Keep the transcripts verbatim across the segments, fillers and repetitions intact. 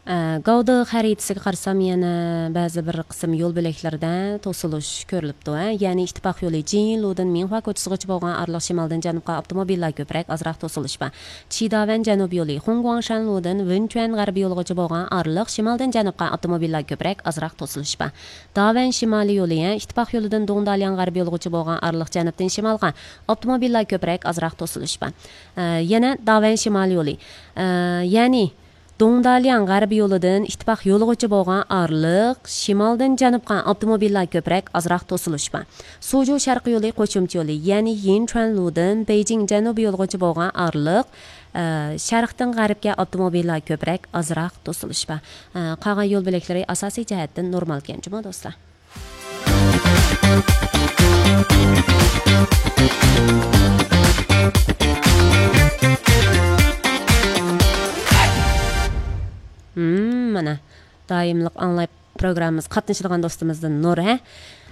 ئە، گاۋدې خەرىتىسىگە قارىسام، يەنە بەزى بىر قىسىم يول بۆلەكلىرىدە توسۇلۇش كۆرۈلۈپتۇ، ھە. يەنى ئىتتىپاق يولى جىنلۇدىن مىڭخۇا كوچىسىغىچە بولغان ئارىلىق شىمالدىن جەنۇبقا ئاپتوموبىللار كۆپرەك، ئازراق توسۇلۇش بار. چىداۋەن جەنۇب يولى خۇڭگۇاڭشەن لۇدىن ۋېنچۈەن غەربىي يولىغىچە بولغان ئارىلىق شىمالدىن جەنۇبقا ئاپتوموبىللار كۆپرەك، ئازراق توسۇلۇش بار. داۋەن شىمالىي يولى، ھە، ئىتتىپاق يولىدىن دۇڭدالياڭ غەربىي يولىغىچە بولغان ئارىلىق جەنۇبتىن شىمالغا ئاپتوموبىللار كۆپرەك، ئازراق توسۇلۇش بار. ئە، يەنە داۋەن شىمالىي يولى، ئە، يەنى دۇڭدالياڭ غەربىي يولىدىن ئىتتىپاق يولىغىچە بولغان ئارىلىق شىمالدىن جەنۇبقا ئاپتوموبىللار كۆپرەك، ئازراق توسۇلۇش بار. سۇجۇ شەرقىي يولى قوشۇمچە يولى، يەنى يىنچۈەنلۇدىن بېيجىڭ جەنۇبىي يولىغىچە بولغان ئارىلىق، ئە، شەرقتىن غەربكە ئاپتوموبىللار كۆپرەك، ئازراق توسۇلۇش بار. ئە، قالغان يول بۆلەكلىرى ئاساسىي جەھەتتىن نورمالكەن جۇمۇ دوستلار. ھىم، مانا، دائىملىق ئاڭلاپ پروگراممىمىزغا قاتنىشىدىغان دوستىمىزدىن نۇر، ھە؟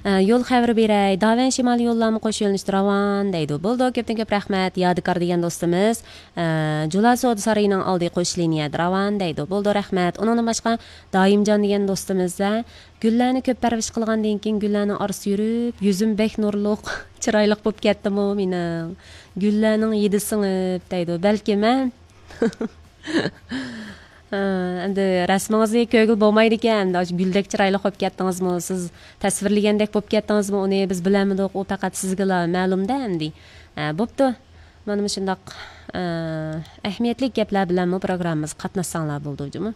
ئە، يول خەۋىرى بېرەي. داۋەن شىمالىي يوللارمۇ قوش يۆنىلىشتە راۋان دەيدۇ. بولىدۇ، كۆپتىن كۆپ رەھمەت. يادىكار دېگەن دوستىمىز، ئە، جۇلا سودا سارىيىنىڭ ئالدى قوش لىنىيەدە راۋان دەيدۇ. بولىدۇ، رەھمەت. ئۇنىڭدىن باشقا دائىمجان دېگەن دوستىمىز، ھە؟ گۈللەرنى كۆپ پەرۋىش قىلغاندىن كېيىن، گۈللەرنىڭ ئارىسىدا يۈرۈپ، يۈزۈم بەك نۇرلۇق، چىرايلىق بولۇپ كەتتىمۇ مېنىڭ؟ گۈللەرنىڭ ھىدى سىڭىپ دەيدۇ. بەلكىم، ھە؟ ھە، ئەمدى رەسىمىڭىزنى كۆرگىلى بولمايدىكەن. ئەمدى ئاشۇ گۈلدەك چىرايلىق بولۇپ كەتتىڭىزمۇ؟ سىز تەسۋىرلىگەندەك بولۇپ كەتتىڭىزمۇ؟ ئۇنى بىز بىلەلمىدۇق. ئۇ پەقەت سىزگىلا مەلۇم-دە ئەمدى. ھە، بوپتۇ. مانا مۇشۇنداق، ئە، ئەھمىيەتلىك گەپلەر بىلەنمۇ پروگراممىمىزغا قاتناشساڭلار بولىدۇ جۇمۇ.